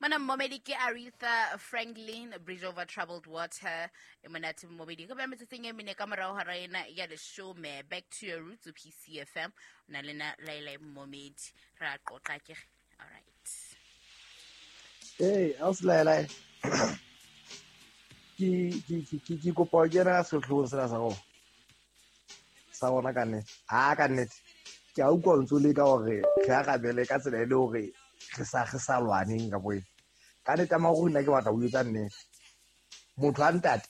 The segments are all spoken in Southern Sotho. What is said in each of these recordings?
Mona mmomedi ke Aretha Franklin, Bridge Over Troubled Water. E monate mmomedi ka ba metsotsong e mene ka morago hora ena ya leshome. Back to your roots, PCFM. O na le na Laila mmomedi. Re a qoqa ke. All right. Hey, ausi Laila. Ke kopa ho kena sehloohong sena sa rona. Sa rona ka nnete. Ha ka nnete. Ke a utlwa o ntso leka hore re arabele ka tsela e le hore re sa lwaneng ka boeng. Ka nnete ya nna ke batla ho etsa nnete. Motho a ntate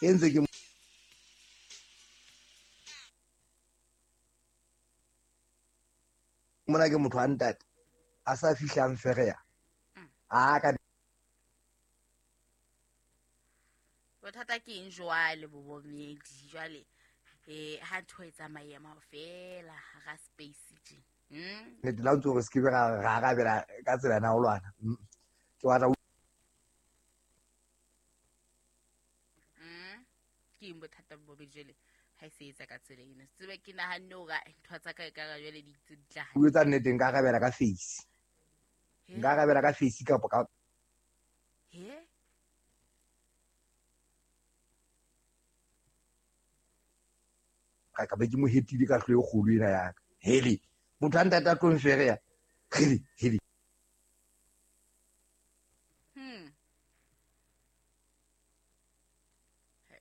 e ntse ke mona ke motho a ntate a sa fihlang fereya. A ka Bothata ke eng jwale, bobomedi jwale? Ha ntho e tsamayema fela hara space tje. Nnete la ntso re se ke be ra arabela ka tsela ena ho lwana. Ke batla Ke eng bothata, bobedi, jwale ha e se etsa ka tsela eno? Tsebe ke nahanne hore ntho tsa ka e ka jwale di tse di tla ho etsa nnete, nka arabela ka face. Nka arabela ka face kapa ka He? Ka be ke mo hetile ka hlo e kgolo ena ya ka. Hele, motho a ntate a tlo mfereya. Hele, hele. He,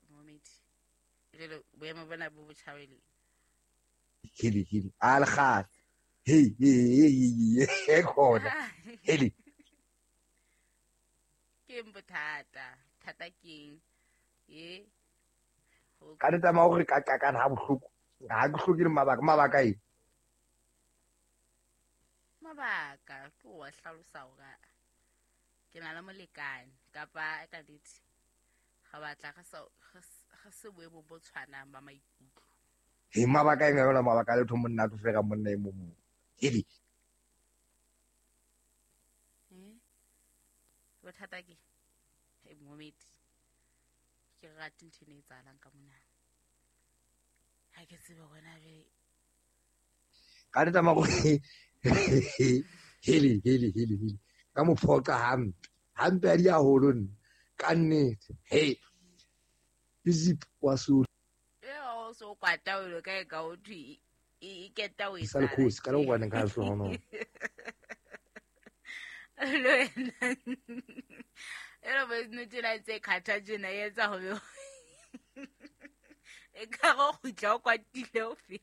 momedi. Jwale boemo bona bo botjhabele. Hele, hele. A le kgale. Hey, hey, hey, hey, hey, khona. Hele. Ke eng bothata? Thata ke eng? E Ka nnete ya hore ka qakana ha bohloko. Ha ke hloke le mabaka, mabaka eng? Mabaka ke wa hlalosa hore ke na le molekane kapa ka nnete ga batla re se boemong bo tshwanang ba maikutlo. He, mabaka eng yona, mabaka a letho, monna a tlo fera monna e mong. Hele. Eh? Bothata ke e momedi, ke rate ntho ene e etsahalang ka mona, ha ke tsebe gona be. Ka nnete ya hore hele, hele, hele, hele. Ka mo phoqa hampe. Hampe a di haholo nna. Ka nnete. Hey. Izip wa so E o so kwata o lo ka e ka o thwe e keta o sa le khosi ka le go ka hlohonolo. Le wena e re voice note ena ntse kgatha tjena e etsa ho be e ka go kgutla o kwatile o fe.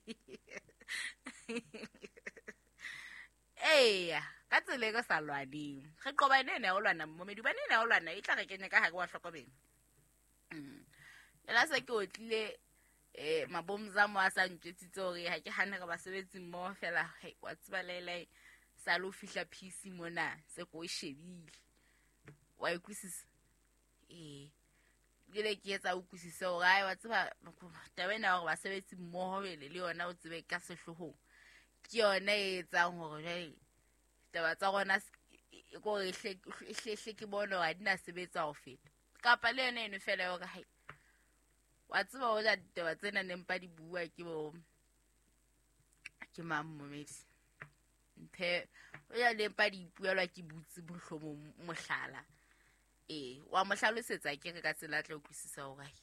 Eya, ka tsela e ka sa lwaneng re qoba ene ene ya ho lwana, mmomedi, hobane ene ya ho lwana e tla re kenya ka gare wa hlokomelo. Ela se ke otlile mabomzamo a sa ntjwetsitse hore ha ke hane re basebetsi mmoho fela. Hei, wa tseba laelae sa le ho fihla PC mona se ko e shebile, wa e utlwisisa. Ee, jele ke etsa o utlwisise hore ai, wa tseba taba ena ya hore basebetsi mmoho jele le yona o tsebe ka sehloohong ke yona e etsang hore jwale taba tsa rona kore e hlehle ke bone hore ha di na sebetsa ho feta kapa le yona eno fela ya hore hai, wa tseba hoja ditaba tsena ne mpa di bua ke bo ke mang, momedi mphe o ya le mpa di ipuelwa ke butse mohlomong mohlala. Ee, wa mo hlalosetsa ke re ka tsela a tla utlwisisa hore ai,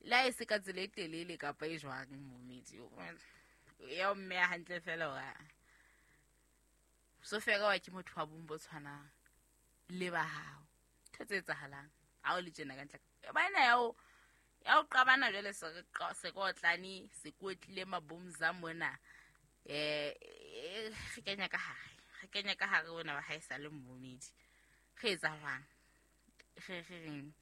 le ha e se ka tsela e telele kapa e jwang, momedi ya o mmeya hantle fela hore so fela wa ke motho wa bong bo tshwanang le ba hao. Ntho tse etsahalang ha o le tjena ka ntle ba ena ya o qabana jwale se re se ke otlane se kotlile mabomza mona. Re kenya ka hare, re kenya ka hare ona wa hae sa le mmomedi, re etsa jwang? Re reng?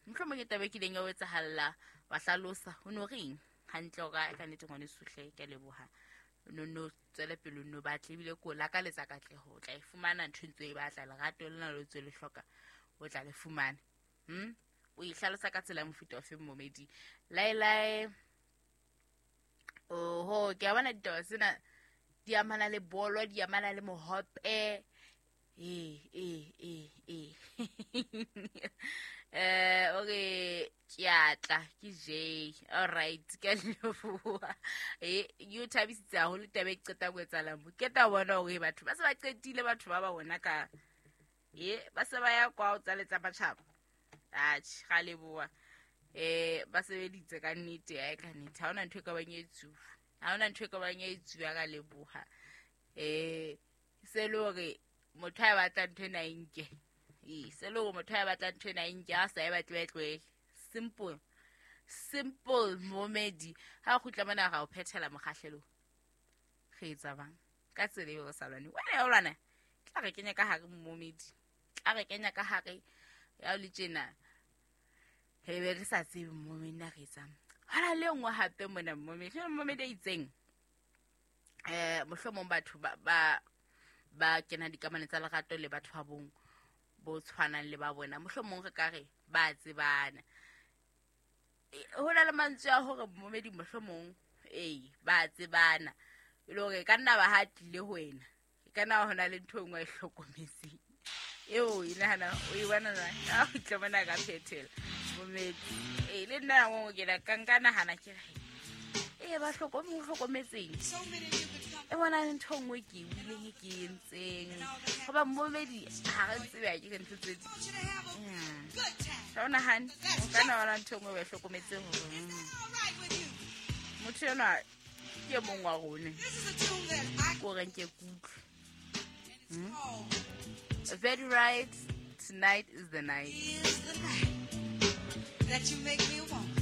Mohlomong ke taba e kileng ya o etsahalla, wa hlalosa o no reng hantle hore ka nnete ngwaneso hle, ke a leboha, no tswele pele, o no batle ebile ko lakaletsa katleho, o tla e fumana ntho e ntse o e batla, lerato lena le ntse le hloka o tla le fumana. O e hlalosa ka tsela ya mofuta ofe, momedi laelae? Oho, ke a bona ditaba tsena di amana le bolo, di amana le mohope. Ee, ee, ee, ee. Okay, ke a tla ke J. All right, ke a leboha. E yo thabisitse haholo taba e qetang ho etsahala mo. Ke tla bona hore batho ba se ba qetile, batho ba ba bona ka e ba se ba ya kwa o tsaletsa matjhaba. Atjhe, ga leboha. Ba sebeditse ka nnete, ya ka nnete. Ha hona ntho e ka bang e tsuwa. Ha hona ntho e ka bang e tsuwa, ka leboha. Se le hore motho a batla ntho ena e nke. Ee, se le hore motho a batla ntho ena e nke, ha sa e batle ba e tlohele. Simple. Simple, momedi. Ha o kgutla mona ra o phethela mokgahlelong. Re etsa bang? Ka tsela eo re sa lwane. Wena ya o lwana, tla re kenya ka hare momedi. Tla re kenya ka hare ya o le tjena. Re be re sa tsebe momedi na re etsang. Hona le e nngwe hape mona momedi. Jwale momedi a itseng. Mohlomong batho ba kena dikamano tsa lerato le batho ba bong bo tshwanang le ba bona, mohlomong re ka re ba tsebana. Ho na le mantswe a hore momedi mohlomong ee ba tsebana, e le hore ka nna ba ha tlile ho wena, e ka nna ho na le ntho e nngwe e hlokometseng eo e nahana o e bona jwang? Ha o tla bona ka phethela momedi. Ee, le nna nako ke la ka nka nahana ke re ee ba hlokometseng e bona le ntho e nngwe ke e buileng e ke e entseng. Hoba momedi ha re tsebe ha ke re ntho tse ding. Ha o nahane, o ka nna wa bona ntho e nngwe ba e hlokometseng hore, motho enwa ke e mong wa rona. Ke o reng ke kutlwe. Very right. Tonight is the night. Is the night that you make me want.